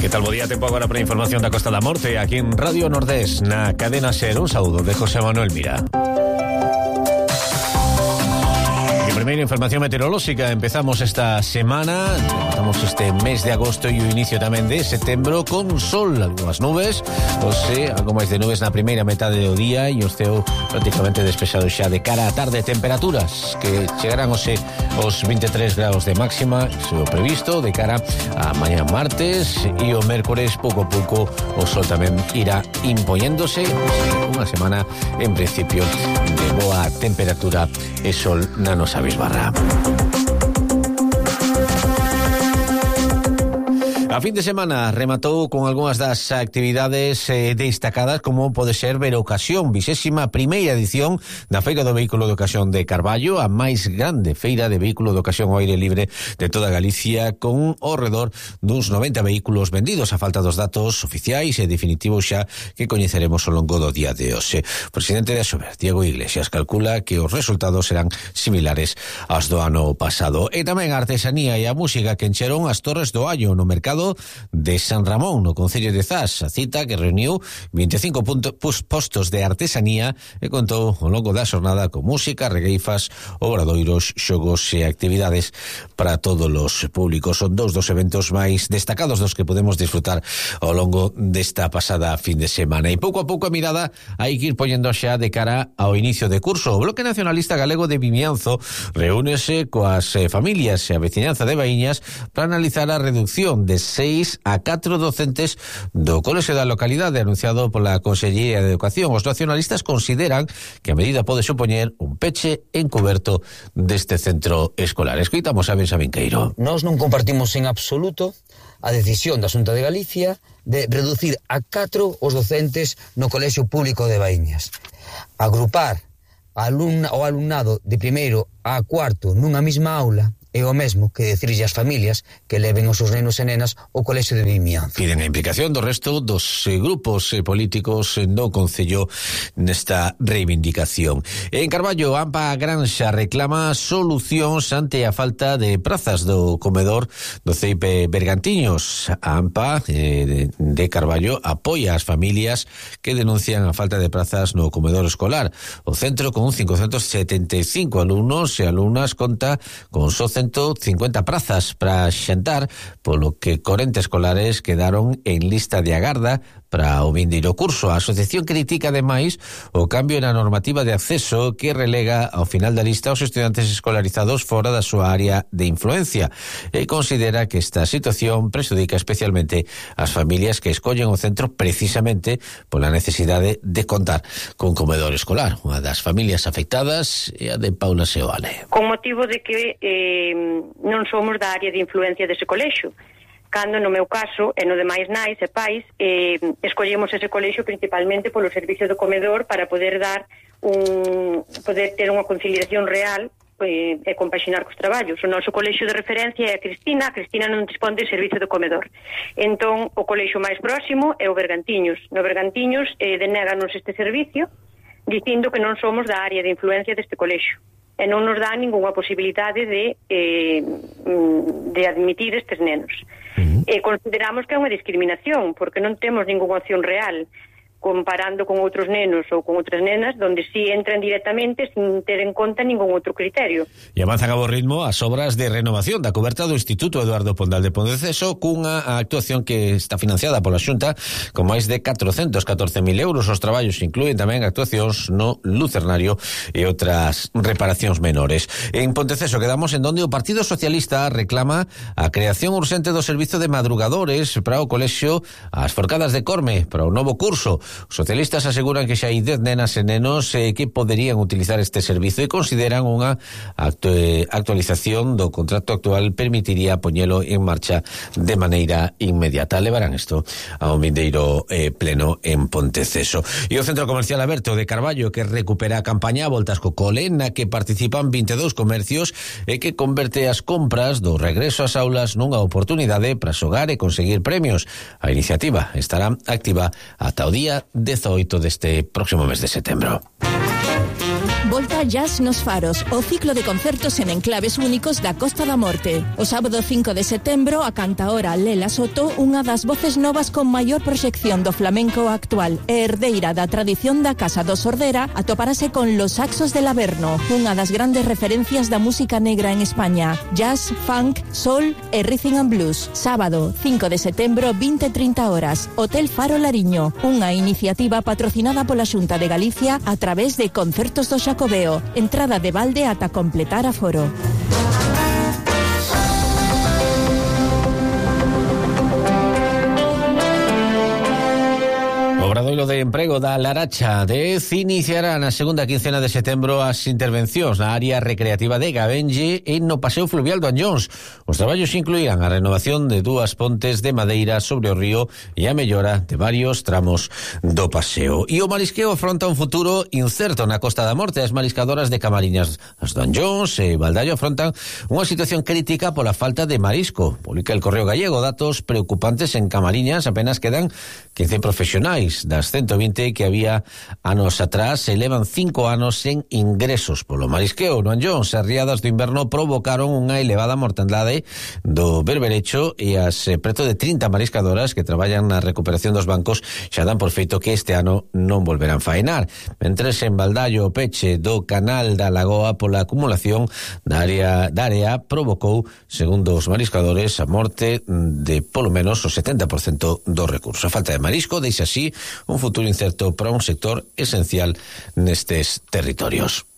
Que tal, bo día, tempo agora para a información da Costa da Morte aquí en Radio Nordés, na cadena SER. Un saúdo de José Manuel Mira. Primeira información meteorolóxica. Empezamos esta semana, empezamos este mes de agosto e o inicio tamén de setembro con sol, algunhas nubes, algo máis de nubes na primeira metade do día e o ceo prácticamente despexado xa de cara á tarde. Temperaturas que chegarán os 23 graus de máxima, iso é o previsto, de cara a mañá martes, e o mércores pouco a pouco o sol tamén irá impoñéndose. Unha semana en principio de boa temperatura e sol na nosa Bisbarra. A fin de semana rematou con algunhas das actividades destacadas, como pode ser ver a ocasión, 21ª edición da Feira do Vehículo de Ocasión de Carballo, a máis grande feira de vehículo de ocasión ao aire libre de toda Galicia, con ao redor duns 90 vehículos vendidos, a falta dos datos oficiais e definitivos xa que coñeceremos ao longo do día de hoxe. O presidente de Asober, Diego Iglesias, calcula que os resultados serán similares aos do ano pasado. E tamén a artesanía e a música que encheron as Torres do Allo no mercado de San Ramón, no concello de Zas, a cita que reuniu 25 postos de artesanía e contou ao longo da xornada con música, regueifas, obradoiros, xogos e actividades para todos os públicos. Son dous dos eventos máis destacados dos que podemos disfrutar ao longo desta pasada fin de semana. E pouco a pouco a mirada hai que ir poñendo xa de cara ao inicio de curso. O Bloque Nacionalista Galego de Vimianzo reúnese coas familias e a veciñanza de Baíñas para analizar a reducción de 6 a 4 docentes do colexio da localidade, anunciado pola Consellería de Educación. Os nacionalistas consideran que a medida pode supoñer un peche encuberto deste centro escolar. Escoitamos a Benxamín Queiro. Nós non compartimos en absoluto a decisión da Xunta de Galicia de reducir a 4 os docentes no colexio público de Baíñas. Agrupar o alumnado de primeiro a cuarto nunha mesma aula é o mesmo que decirlle ás familias que leven os seus nenos e nenas ao colexio de Vimianzo. Piden a implicación do resto dos grupos políticos no concello nesta reivindicación. En Carballo, AMPA Granxa reclama solucións ante a falta de prazas do comedor do CEIP Bergantiños. A AMPA de Carballo apoia as familias que denuncian a falta de prazas no comedor escolar. O centro, con 575 alumnos e alumnas, conta con só 150 prazas para xantar, polo que 40 escolares quedaron en lista de agarda para o vindeiro curso. A asociación critica ademais o cambio na normativa de acceso que relega ao final da lista aos estudantes escolarizados fora da súa área de influencia e considera que esta situación prejudica especialmente as familias que escollen o centro precisamente pola necesidade de contar con comedor escolar. Unha das familias afectadas é a de Paula Seoane. Con motivo de que non somos da área de influencia dese colexio, cando no meu caso e no demais nais e pais escollemos ese colexio principalmente polo servicio do comedor para poder poder ter unha conciliación real e compaxinar cos traballos. O noso colexio de referencia é a Cristina non dispón de servicio do comedor. Entón, o colexio máis próximo é o Bergantiños. No Bergantiños denéganos este servicio dicindo que non somos da área de influencia deste colexio e non nos dá ningunha posibilidade de admitir estes nenos. Consideramos que é unha discriminación, porque non temos ningunha opción real comparando con outros nenos ou con outras nenas, donde sí entran directamente sin ter en conta ningún outro criterio. E avanzan a bo ritmo as obras de renovación da coberta do Instituto Eduardo Pondal de Ponteceso, cunha actuación que está financiada pola Xunta con máis de 414.000 euros. Os traballos incluen tamén actuacións no Lucernario e outras reparacións menores. En Ponteceso quedamos en donde o Partido Socialista reclama a creación urxente do servizo de madrugadores para o colexio As Forcadas de Corme para o novo curso. Os socialistas aseguran que xa hai 10 nenas e nenos que poderían utilizar este servizo e consideran unha actualización do contrato actual permitiría poñelo en marcha de maneira inmediata. Levarán isto ao vindeiro pleno en Ponteceso. E o Centro Comercial Aberto de Carballo, que recupera a campaña Voltas co Cole, na que participan 22 comercios e que converte as compras do regreso ás aulas nunha oportunidade para xogar e conseguir premios. A iniciativa estará activa ata o día 18 deste próximo mes de setembro. volta Jazz nos Faros, o ciclo de concertos en enclaves únicos da Costa da Morte. O sábado 5 de setembro, a cantaora Lela Soto, unha das voces novas con maior proxección do flamenco actual e herdeira da tradición da Casa do Sordera, atoparase con Los Saxos del Averno, unha das grandes referencias da música negra en España. Jazz, funk, soul e rhythm and blues. Sábado 5 de setembro, 20:30 horas, Hotel Faro Lariño, unha iniciativa patrocinada pola Xunta de Galicia a través de Concertos do Xacobeo. Entrada de balde ata completar aforo. Obradoiro de Emprego da Laracha iniciará na segunda quincena de setembro as intervencións na área recreativa de Gabenlle e no Paseo Fluvial do Anllóns. Os traballos incluirán a renovación de 2 pontes de madeira sobre o río e a mellora de varios tramos do paseo. E o marisqueo afronta un futuro incerto na Costa da Morte. As mariscadoras de Camariñas do Anllóns e Baldaio afrontan unha situación crítica pola falta de marisco. Publica el Correo Gallego datos preocupantes. En Camariñas apenas quedan 15 profesionais das 120 que había anos atrás, se levan 5 anos sen ingresos polo marisqueo. No Anllóns, as riadas do inverno provocaron unha elevada mortandade do berberecho e as preto de 30 mariscadoras que traballan na recuperación dos bancos xa dan por feito que este ano non volverán faenar. Mentres en Baldaio o peche do canal da Lagoa pola acumulación da área provocou, segundo os mariscadores, a morte de polo menos o 70% do recurso. A falta de marisco deixa así un futuro incerto para un sector esencial nestes territorios.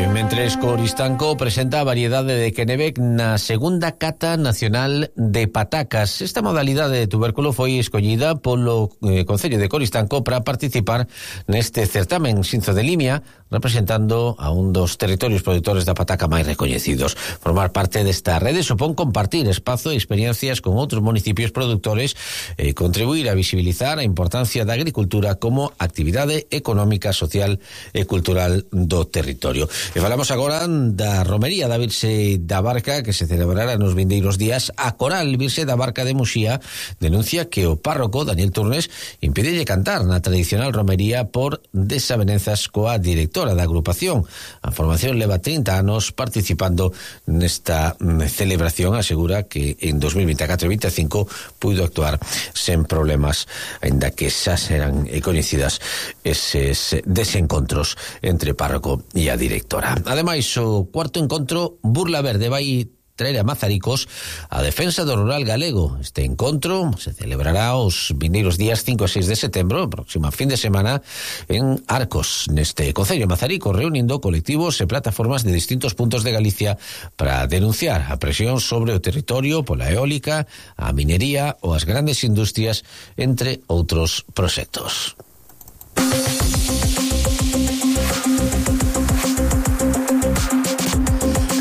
Mentres Coristanco presenta a variedade de Kennebec na segunda cata nacional de patacas. Esta modalidade de tubérculo foi escollida polo Concello de Coristanco para participar neste certamen Xinzo de Limia, representando a un dos territorios produtores da pataca máis recoñecidos. Formar parte desta rede supón compartir espazo e experiencias con outros municipios produtores e contribuir a visibilizar a importancia da agricultura como actividade económica, social e cultural do territorio. E falamos agora da romería da Virxe da Barca que se celebrará nos vindeiros días. A Coral Virxe da Barca de Muxía denuncia que o párroco Daniel Turnes impídelle cantar na tradicional romería por desavenenzas coa directora da agrupación. A formación leva 30 anos participando nesta celebración. Asegura que en 2024 e 2025 puido actuar sen problemas, aínda que xa serán coñecidas eses desencontros entre párroco e a directora. Ademais, o cuarto encontro Burla Verde vai traer a Mazaricos a defensa do rural galego. Este encontro se celebrará os vindeiros días 5 e 6 de setembro, próxima fin de semana, en Arcos, neste concello de Mazaricos, reunindo colectivos e plataformas de distintos puntos de Galicia para denunciar a presión sobre o territorio pola eólica, a minería ou as grandes industrias, entre outros proxectos.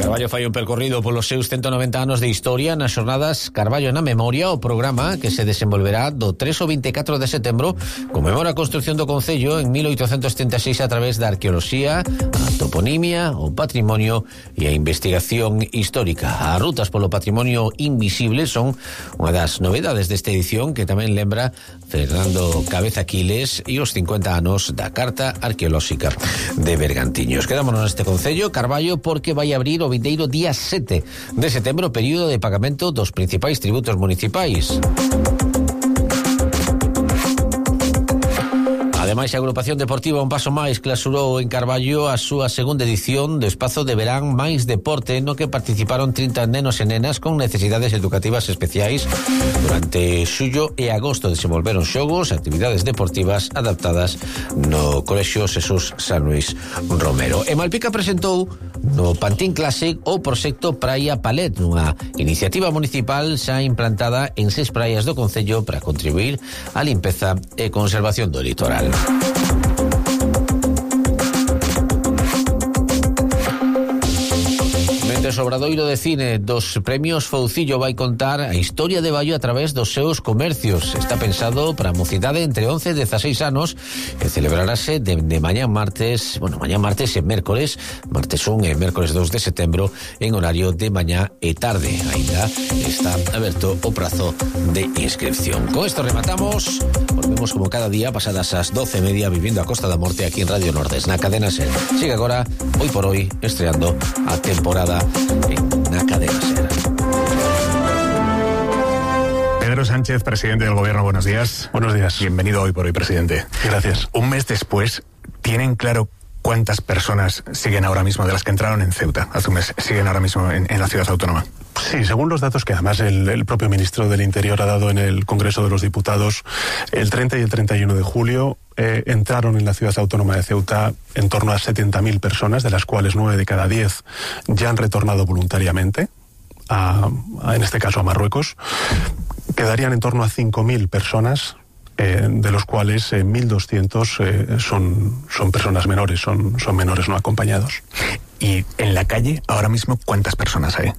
Carballo fai un percorrido polos seus 190 anos de historia nas xornadas Carballo na Memoria. O programa, que se desenvolverá do 3 ao 24 de setembro, conmemora a construción do Concello en 1836 a través da arqueoloxía, a toponimia, o patrimonio e a investigación histórica. As rutas polo patrimonio invisible son unha das novedades desta edición, que tamén lembra Fernando Cabeza Quiles e os 50 anos da Carta Arqueolóxica de Bergantiños. Quedámonos neste Concello, Carballo, porque vai abrir o vindeiro día 7 de setembro, período de pagamento dos principais tributos municipais. Ademais, a agrupación deportiva Un Paso Máis clausurou en Carballo a súa segunda edición do espazo de verán máis deporte, no que participaron 30 nenos e nenas con necesidades educativas especiais. Durante xullo e agosto desenvolveron xogos e actividades deportivas adaptadas no Colexio Jesús San Luis Romero. E Malpica presentou no Pantín Classic o proxecto Praia Palet, unha iniciativa municipal xa implantada en 6 praias do concello para contribuir á limpeza e conservación do litoral. Mentres o Obradoiro de Cine dos premios Foucillo vai contar a historia de Baio a través dos seus comercios. Está pensado para a mocidade entre 11 e 16 anos e celebrarase de mañá martes e mércores, martes 1 e mércores 2 de setembro, en horario de mañá e tarde. Ainda está aberto o prazo de inscripción. Con esto rematamos. Volvemos como cada día pasadas as 12:30 vivindo a Costa da Morte aquí en Radio Nordes, na cadena SER. Sigue agora, hoy por hoy, estreando a temporada en na cadena SER. Pedro Sánchez, presidente del Gobierno, buenos días. Buenos días. Bienvenido Hoy por Hoy, presidente. Gracias. Un mes después, ¿tienen claro cuántas personas siguen ahora mismo, de las que entraron en Ceuta hace un mes, siguen ahora mismo en la ciudad autónoma? Sí, según los datos que además el propio ministro del Interior ha dado en el Congreso de los Diputados, el 30 y el 31 de julio entraron en la ciudad autónoma de Ceuta en torno a 70.000 personas, de las cuales 9 de cada 10 ya han retornado voluntariamente, en este caso a Marruecos. Quedarían en torno a 5.000 personas, de los cuales 1.200 son personas menores, son menores no acompañados. Y en la calle, ahora mismo, ¿cuántas personas hay?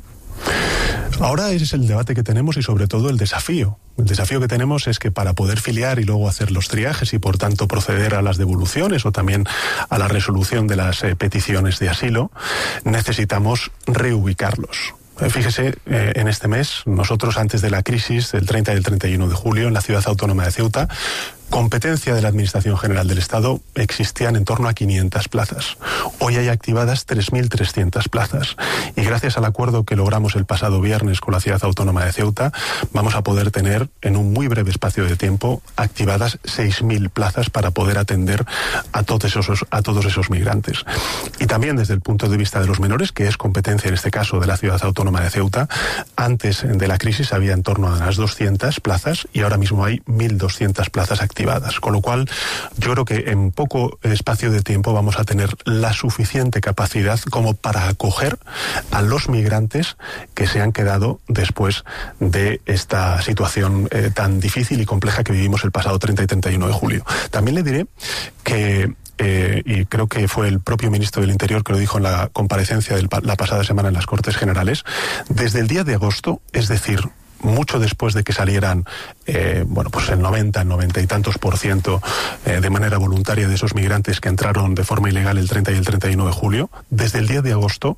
Ahora ese es el debate que tenemos y sobre todo el desafío. El desafío que tenemos es que para poder filiar y luego hacer los triajes y por tanto proceder a las devoluciones o también a la resolución de las peticiones de asilo, necesitamos reubicarlos. Fíjese, en este mes, nosotros antes de la crisis del 30 y el 31 de julio, en la ciudad autónoma de Ceuta, competencia de la Administración General del Estado, existían en torno a 500 plazas. Hoy hay activadas 3.300 plazas. Y gracias al acuerdo que logramos el pasado viernes con la ciudad autónoma de Ceuta, vamos a poder tener en un muy breve espacio de tiempo activadas 6.000 plazas para poder atender a todos esos migrantes. Y también desde el punto de vista de los menores, que es competencia en este caso de la ciudad autónoma de Ceuta, antes de la crisis había en torno a las 200 plazas y ahora mismo hay 1.200 plazas activadas. Con lo cual, yo creo que en poco espacio de tiempo vamos a tener la suficiente capacidad como para acoger a los migrantes que se han quedado después de esta situación tan difícil y compleja que vivimos el pasado 30 y 31 de julio. También le diré que y creo que fue el propio ministro del Interior que lo dijo en la comparecencia de la pasada semana en las Cortes Generales, desde el día de agosto, es decir, mucho después de que salieran pues el 90 y tantos % de manera voluntaria de esos migrantes que entraron de forma ilegal el 30 y el 31 de julio, desde el día de agosto